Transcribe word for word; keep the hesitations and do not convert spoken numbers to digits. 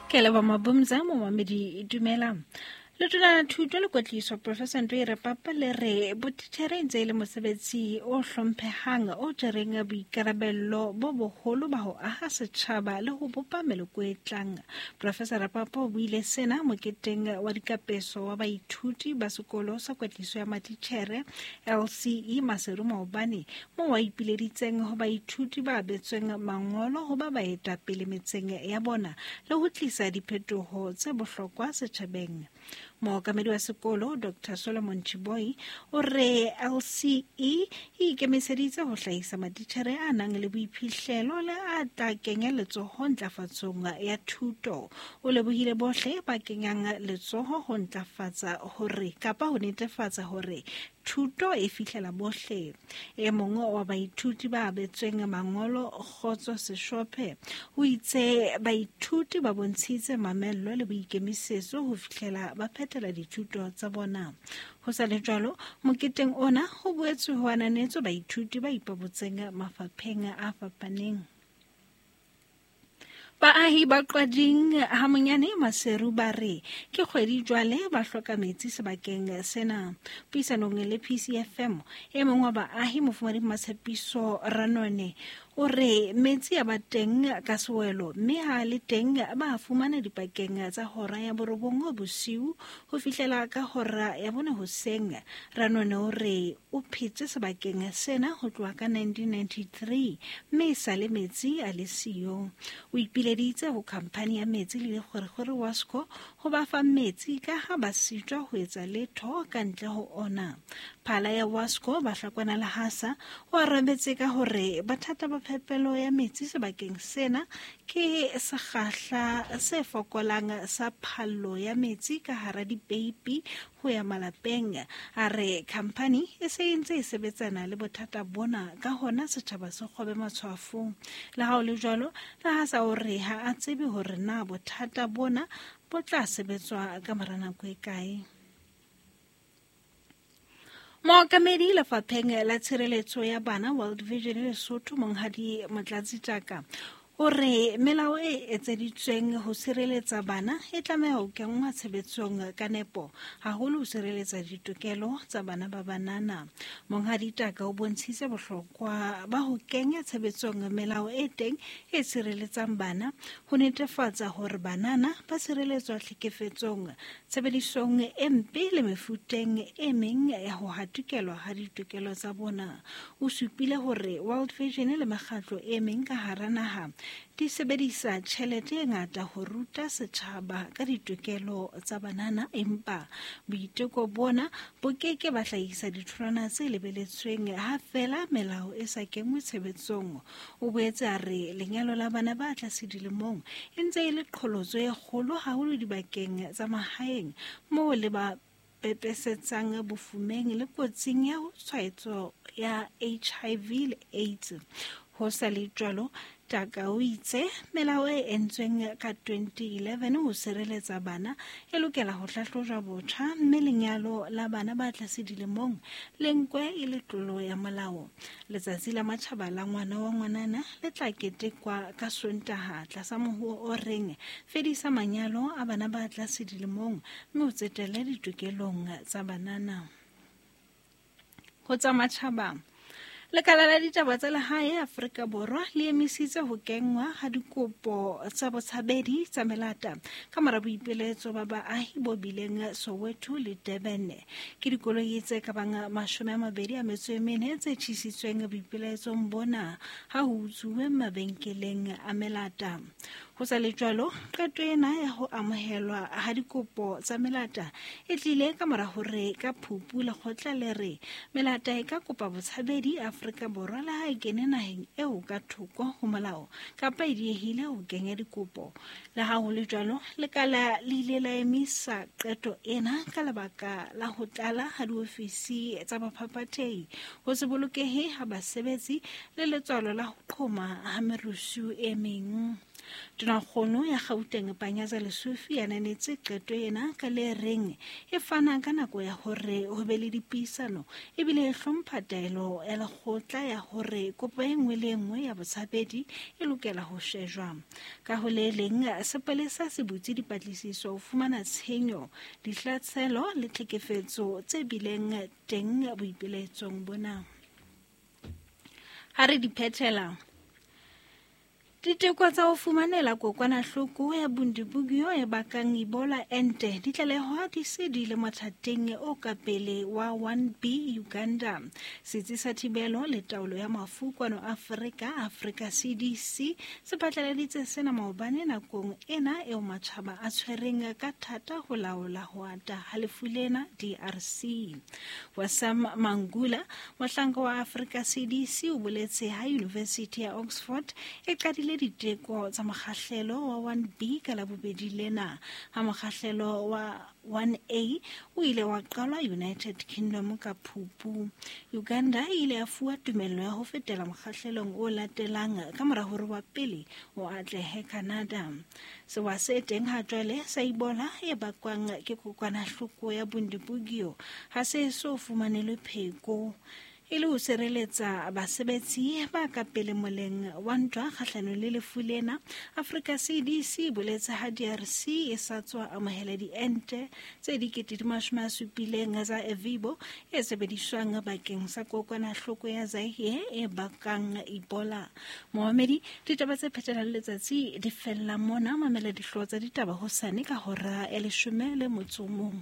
Ke leboha Mabumza, momamedi, dumela. Letona la Thuto le Kwetliso Professor Ntoere Papa le re botitjhere e ntse e le mosebetsi o hlomphehang o jereng boikarabello bo boholo ba ho aha setjhaba le ho bopa meloko e tlang. Professor Papa o buile sena moketeng wa dikapeso wa baithuti ba sekolo sa kwetliso ya matitjhere L C E Maseru maobane, moo a ipileditseng ho baithuti ba abetsweng mangolo ho ba baetapele metseng ya bona le ho tlisa diphetoho tse bohlokwa setjhabeng. Mookamedi wa sekolo Doctor Solomon Chiboi o re L C E e ikemiseditse ho hlahisa matitjhere a nang le boiphihlelo le a tla kenya letsoho ntlafatsong ya thuto. O lebohile bohle ba kenyang letsoho ho ntlafatsa hore kapa ho netefatsa hore thuto e fihlela bohle. E mong wa baithuti ba abetsweng mangolo Kgotso Seshophe o itse baithuti ba bontshitse mamello le boikemisetso ho fihlela ba phethela dithuto tsa bona. Ho sa le jwalo, moketeng ona ho boetse ho ananetswe baithuti ba ipabotseng mafapheng a fapaneng. Baahi ba Qwading ha Monyane Maseru ba re ke kgwedi jwale ba hloka metsi sebakeng sena. Puisanong le P C F M, e mong wa baahi Mofumadi Matshepiso Ranone o re metsi a ba teng ka sewelo mme ha le teng ba fumana dipakeng tsa hora ya borobong bosiu ho fihlela ka hora ya bone hoseng. Ranone o re o phetse sebakeng sena ho tloha ka nineteen ninety-three mme e sa le metsi a le siyo. O ipileditse ho khamphani ya metsi le dikgwerekgwere Wasco ho ba fa metsi ka ha ba sitwa ho etsa letho ka ntle ho ona. Phala ya Wasco Bahlakwana Lehasa o arabetse ka hore bothata ba phepelo ya metsi sebakeng sena ke sekgahla se fokolang sa phallo ya metsi ka hara dipeipi ho ya malapeng. A re khamphani e se e ntse e sebetsana le bothata bona, ka hona setjhaba se kgobe matshwafo. Le ha ho le jwalo, Lehasa o re ha a tsebe hore na bothata bona bo tla sebetswa ka mora nako e kae. Mookamedi lefapheng la tshireletso ya bana World Vision Lesotho Monghadi Motlatsi Taka o re melao e etseditsweng ho sireletsa bana e tlameha ho kenngwa tshebetsong ka nepo, haholo ho sireletsa ditokelo tsa bana ba banana. Monghadi Taka o bontshitse bohlokwa ba ho kenya tshebetsong melao e teng e sireletsang bana ho netefatsa hore banana ba sireletswa tlhekefetsong, tshebedisong e mpe le mefuteng e meng ya ho hatikelwa ha ditokelo tsa bona. O supile hore World Vision le mekgatlo e meng ka hara naha di sebedisa tjhelete e ngata ho ruta setjhaba ka ditokelo tsa banana, empa boiteko bona bo ke ke ba hlahisa ditholwana tse lebeletsweng ha feela melao e sa kenngwe tshebetsong. O boetse a re lenyalo la bana ba tlase dilemong e ntse e le qholotso e kgolo haholo dibakeng tsa mahaeng moo le ba pepesetsang bofumeng le kotsing ya tshwaetso ya H I V le AIDS. Ho sa le jwalo, Taka o itse melao e entsweng ka twenty eleven ho sireletsa bana e lokela ho hlahlojwa botjha mme lenyalo la bana ba tlase dilemong le nkwe e le tlolo ya molao. Letsatsi la matjhaba la ngwana wa ngwanana le tla ketekwa ka Sontaha tlasa mohoo o reng fedisa manyalo a bana ba tlase dilemong mme o tsetele ditokelong tsa banana. Ho tsa matjhaba, Lekala la ditaba tsa lehae Afrika Borwa le emisitse ho kenngwa ha dikopo tsa botshabedi tsa melata ka mora boipiletso ba baahi bo bileng Soweto le Durban. Ke dikoloi tse ka bang mashome a mabedi a metso e mene tse tjhisitsweng boipiletsong bona ha ho utsuwe mabenkeleng a melata. Ho sa le jwalo, qeto ena ya ho amohelwa ha dikopo tsa melata e tlile ka mora hore ka Phupu lekgotla le re melata e ka kopa botshabedi Afrika Borwa le ha e kene naheng eo ka thoko ho molao kapa e diehile ho kenya dikopo. Le ha ho le jwalo, lekala le ile la emisa qeto ena ka lebaka la ho tlala ha diofisi tsa baphaphathehi, ho se bolokehe ha basebetsi le letswalo la ho qhoma ha merusu e meng. Tonakgolo ya Gauteng Panyaza Lesufi ya ananetse qeto ena ka le reng e fana ka nako ya hore ho be le dipuisano ebile e hlompha taelo ya lekgotla ya hore kopo e nngwe le e nngwe ya botshabedi e lokela ho shejwa. Ka ho le leng, sepolesa se butse dipatlisiso ho fumana tshenyo, dihlaselo le tlhekefetso tse bileng teng boipiletsong bona. Ha re di phethela, diteko tsa ho fumanela kokwanahloko ya Bundibugyo e bakang Ebola ente di tlalehwa di se di le mothateng o ka pele wa one B Uganda. Setsi sa thibelo le taolo ya mafu kwano Afrika, Africa C D C, se phatlaladitse sena maobane nakong ena eo matjhaba a tshwereng ka thata ho laola ho ata ha lefu lena D R C. Wasam Mangula, mohlanka wa Africa C D C, o boletse ha University ya Oxford e qadile diteko tsa mokgahlelo wa one B ka Labobedi lena. Ha mokgahlelo wa one A o ile wa qalwa United Kingdom ka Phupu. Uganda e ile ya fuwa tumello ya ho fetela mokgahlelong o latelang ka mora hore wa pele o atlehe Canada. Sewa se teng ha jwale sa Ebola e bakwang ke kokwanahloko ya Bundibugyo ha se so fumanelwe pheko. E le ho sireletsa basebetsi ba ka pele moleng wa ntwa kgahlanong le lefu lena, Africa C D C e boletse ha D R C e sa tswa amohela diente tse dikete di mashome a supileng tsa Evibo e sebediswang bakeng sa kokwanahloko ya Zaire e bakang Ebola. Mohamedi, ditaba tse phethelang letsatsi di fella mona. Mamela dihlooho tsa ditaba hosane ka hora ya leshome le motso o mong.